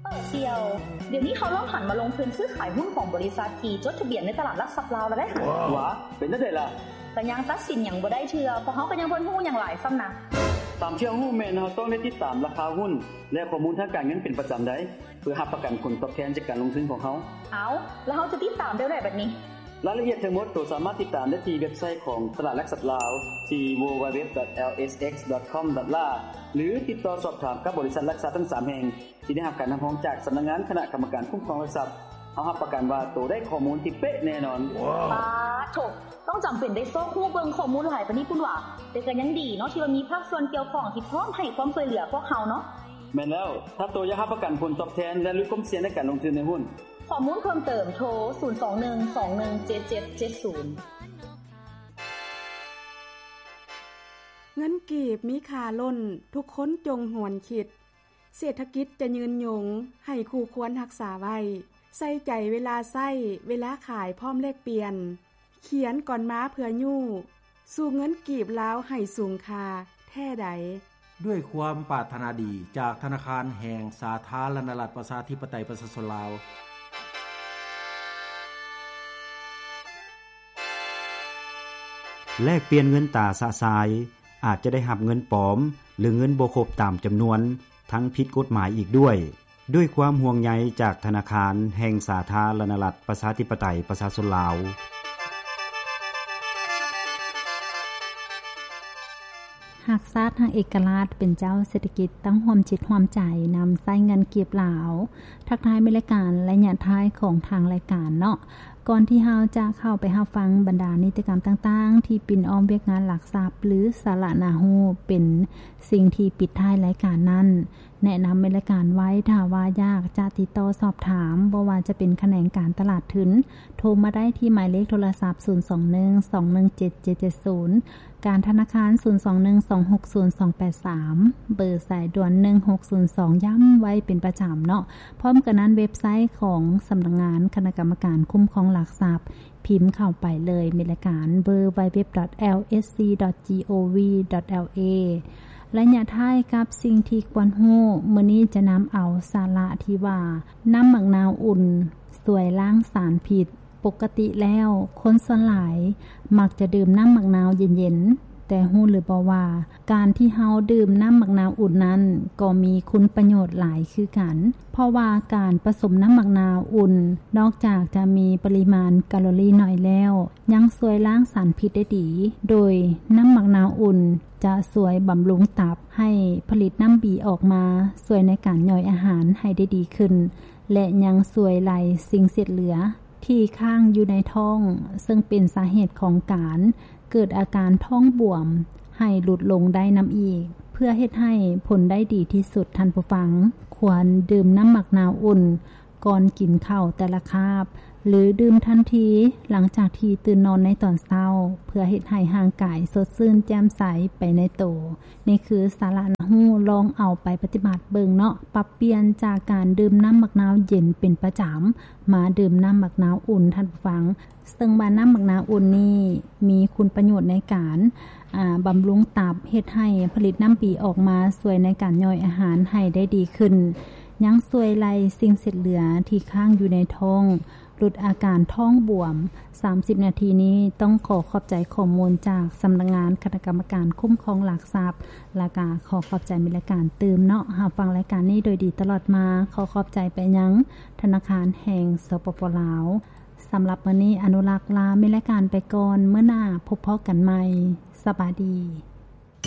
ເອີ ສ່ຽວ, ດຽວນີ້ເຂົາເລີ່ມຫັນມາລົງທຶນຊື້ຂາຍຫຸ້ນຂອງບໍລິສັດທີ່ຈົດທະບຽນໃນຕະຫຼາດຫຼັກຊັບລາວແລ້ວເດ້. ຫວາ ເປັນຈັ່ງໃດລະ? ກໍຍັງຕັດສິນຫຍັງບໍ່ໄດ້ເທື່ອ, ເພາະເຮົາກໍຍັງບໍ່ຮູ້ຫຍັງຫຼາຍຊ້ຳນະ. ຕາມທີ່ເຮົາຮູ້ແມ່ນເຮົາຕ້ອງໄດ້ຕິດຕາມລາຄາຫຸ້ນ ແລະ ຂໍ້ມູນທາງການເງິນເປັນປະຈຳໄດ໋ ເພື່ອຮັບປະກັນຜົນຕອບແທນຈາກການລົງທຶນຂອງເຮົາ. ເອົາ, ແລ້ວເຮົາຈະຕິດຕາມແນວໃດບັດນີ້? ລາຍລະອຽດທັງໝົດໂຕສາມາດຕິດຕາມໄດ້ທີ່ເວັບໄຊຂອງຕະຫຼາດຫຼັກຊັບລາວ ທີ່ www.lsx.com.la ຫຼື ຕິດຕໍ່ສອບຖາມກັບບໍລິສັດຫຼັກຊັບທັງສາມແຫ່ງ ທີ່ໄດ້ຮັບການຮັບຮອງຈາກສຳນັກງານຄະນະກຳມະການຄຸ້ມຄອງຫຼັກຊັບ. ເຮົາຮັບປະກັນວ່າໂຕໄດ້ຂໍ້ມູນທີ່ເປະແນ່ນອນ. ປາໂທ້ ຕ້ອງຈຳເປັນໄດ້ຊອກຮູ້ເບິ່ງຂໍ້ມູນຫຼາຍປານນີ້ພຸ້ນຫວາ? ແຕ່ກໍຍັງດີເນາະ ທີ່ວ່າມີພາກສ່ວນກ່ຽວຂ້ອງທີ່ພ້ອມໃຫ້ຄວາມຊ່ວຍເຫຼືອພວກເຮົາເນາະ. ແມ່ນແລ້ວ, ຖ້າໂຕຢາກຮັບປະກັນຜົນຕອບແທນ ແລະ ຫຼຸດຄວາມສ່ຽງໃນການລົງທຶນໃນຫຸ້ນ, ຂໍ້ມູນເພີ່ມເຕີມ ໂທ ສູນສອງໜຶ່ງສອງໜຶ່ງເຈັດເຈັດເຈັດສູນ. ເງິນກີບມີຄ່າລົ້ນ, ທຸກຄົນຈົ່ງຫວນຄິດ. ເສດຖະກິດຈະຍືນຍົງ, ໃຫ້ຄູ່ຄວນຮັກສາໄວ້. ໃສ່ໃຈເວລາໃຊ້, ເວລາຂາຍພ້ອມແລກປ່ຽນ. ຂຽນກ່ອນມາເພື່ອຍູ້, ສູ້ເງິນກີບລາວໃຫ້ສູງຄ່າແທ້ໃດ. ດ້ວຍຄວາມປາດຖະໜາດີຈາກທະນາຄານແຫ່ງສາທາລະນະລັດ ປະຊາທິປະໄຕ ປະຊາຊົນລາວ. ແລກປ່ຽນເງິນຕາຊະຊາຍ, ອາດຈະໄດ້ຮັບເງິນປອມ ຫຼື ເງິນບໍ່ຄົບຕາມຈຳນວນ, ທັງຜິດກົດໝາຍອີກດ້ວຍ. ດ້ວຍຄວາມຫ່ວງໃຍຈາກທະນາຄານແຫ່ງສາທາລະນະລັດ ປະຊາທິປະໄຕ ປະຊາຊົນລາວ. ຮັກຊາດຮັກເອກະລາດ ເປັນເຈົ້າເສດຖະກິດ ຕ້ອງຮ່ວມຈິດຮ່ວມໃຈນຳໃຊ້ເງິນກີບລາວ. ທັກທາຍແມ່ນລາຍການໄລຍະທ້າຍຂອງທາງລາຍການເນາະ. ກ່ອນທີ່ເຮົາຈະເຂົ້າໄປຮັບຟັງບັນດານິຕິກຳຕ່າງໆ ທີ່ປິ່ນອ້ອມວຽກງານຫຼັກຊັບ ຫຼື ສາລະໜ້າຮູ້ ເປັນສິ່ງທີ່ປິດທ້າຍລາຍການນັ້ນ, ແນະນຳແມ່ນລາຍການໄວ້, ຖ້າວ່າຢາກຈະຕິດຕໍ່ສອບຖາມ, ບໍ່ວ່າຈະເປັນຂະແໜງການຕະຫຼາດທຶນ, ໂທມາໄດ້ທີ່ໝາຍເລກໂທລະສັບ ສູນສອງໜຶ່ງສອງໜຶ່ງເຈັດເຈັດເຈັດສູນ, ການທະນາຄານ ສູນສອງໜຶ່ງສອງຫົກສູນສອງແປດສາມ, ເບີສາຍດ່ວນ ໜຶ່ງຫົກສູນສອງ ຢ້ຳໄວ້ເປັນປະຈຳເນາະ. ພ້ອມກັນນັ້ນ, ເວັບໄຊຂອງສຳນັກງານຄະນະກຳມະການຄຸ້ມຄອງຫຼັກຊັບ, ພິມເຂົ້າໄປເລີຍ, ມີລາຍການ www.lsc.gov.la. ໄລຍະທ້າຍກັບສິ່ງທີ່ຄວນຮູ້, ມື້ນີ້ຈະນຳເອົາສາລະທີ່ວ່າ ນ້ຳໝາກນາວອຸ່ນຊ່ວຍລ້າງສານພິດ. ປົກກະຕິແລ້ວ, ຄົນສ່ວນຫຼາຍມັກຈະດື່ມນ້ຳໝາກນາວເຢັນໆ, ແຕ່ຮູ້ຫຼືບໍ່ວ່າ ການທີ່ເຮົາດື່ມນ້ຳໝາກນາວອຸ່ນນັ້ນ ກໍມີຄຸນປະໂຫຍດຫຼາຍຄືກັນ, ເພາະວ່າການປະສົມນ້ຳໝາກນາວອຸ່ນ ນອກຈາກຈະມີປະລິມານກາໂລຣີນ້ອຍແລ້ວ, ຍັງຊ່ວຍລ້າງສານພິດໄດ້ດີ, ໂດຍນ້ຳໝາກນາວອຸ່ນຈະຊ່ວຍບຳລຸງຕັບໃຫ້ຜະລິດນ້ຳບີອອກມາ, ຊ່ວຍໃນການຍ່ອຍອາຫານໃຫ້ໄດ້ດີຂຶ້ນ ແລະ ຍັງຊ່ວຍໄລ່ສິ່ງເສດເຫຼືອ ທີ່ຄ້າງຢູ່ໃນທ້ອງ, ເຊິ່ງເປັນສາເຫດຂອງການເກີດອາການທ້ອງບວມ ໃຫ້ຫຼຸດລົງໄດ້ນຳອີກ. ເພື່ອເຮັດໃຫ້ຜົນໄດ້ດີທີ່ສຸດ, ທ່ານຜູ້ຟັງຄວນດື່ມນ້ຳໝາກນາວອຸ່ນກ່ອນກິນເຂົ້າແຕ່ລະຄາບ, ຫຼື ດື່ມທັນທີຫຼັງຈາກທີ່ຕື່ນນອນໃນຕອນເຊົ້າ, ເພື່ອເຮັດໃຫ້ຮ່າງກາຍສົດຊື່ນແຈ່ມໃສໄປໃນໂຕ. ນີ້ຄືສາລະໜ້າຮູ້, ລອງເອົາໄປປະຕິບັດເບິ່ງເນາະ, ປັບປ່ຽນຈາກການດື່ມນ້ຳໝາກນາວເຢັນເປັນປະຈຳ ມາດື່ມນ້ຳໝາກນາວອຸ່ນ, ທ່ານຜູ້ຟັງ. ເຊິ່ງວ່ານ້ຳໝາກນາວອຸ່ນນີ້ມີຄຸນປະໂຫຍດໃນການ, ອາ, ບຳລຸງຕັບ, ເຮັດໃຫ້ຜະລິດນ້ຳບີອອກມາ, ຊ່ວຍໃນການຍ່ອຍອາຫານໃຫ້ໄດ້ດີຂຶ້ນ, ຍັງຊ່ວຍໄລ່ສິ່ງເສດເຫຼືອທີ່ຄ້າງຢູ່ໃນທ້ອງ, ຫຼຸດອາການທ້ອງບວມ. ສາມສິບນາທີນີ້ ຕ້ອງຂໍຂອບໃຈຂໍ້ມູນຈາກສຳນັກງານຄະນະກຳມະການຄຸ້ມຄອງຫຼັກຊັບ, ແລ້ວກະຂໍຂອບໃຈແມ່ນລາຍການຕື່ມເນາະ, ຮັບຟັງລາຍການນີ້ໂດຍດີຕະຫຼອດມາ. ຂໍຂອບໃຈໄປຍັງທະນາຄານແຫ່ງ ສປປ ລາວ. ສຳລັບມື້ນີ້ ອະນຸລັກລາແມ່ນລາຍການໄປກ່ອນ, ມື້ໜ້າພົບພໍ້ກັນໃໝ່. ສະບາຍດີ.